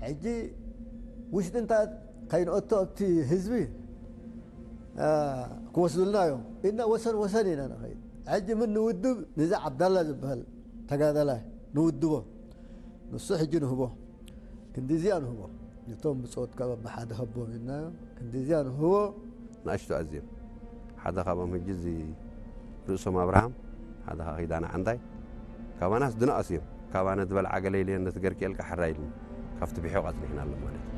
ሕጂ ውሽጢ እንታ ከይንኦቶ ኣብቲ ህዝቢ ክወስዱልና እዮም እና ወሰን ወሰን ኢና ንኸይድ። ሕጂ ምን ንውድብ ንዚ ዓብዳላ ዝበሃል ተጋዳላይ ንውድቦ፣ ንሱ ሕጂ ንህቦ፣ ክንዲዚኣ ንህቦ። ነቶም ብጾት ካብ ኣባሓደ ከቦም ኢልና ክንዲዚኣ ንህቦ። ንኣሽቱ ኣዝዮም ሓደ ካብኦም ሕጂ እዚ ርእሶም ኣብርሃም ሓደ ከዓ ኪዳነ ዓንዳይ ካባናስ ድንኣስ እዮም። ካባነ ዝበልዓ ገለ ኢልየን ነቲ ገርኪኤልካ ሕራይ ኢሉኒ ካብቲ ብሒቑ ኣጽኒሕና ኣሎ ማለት እዩ።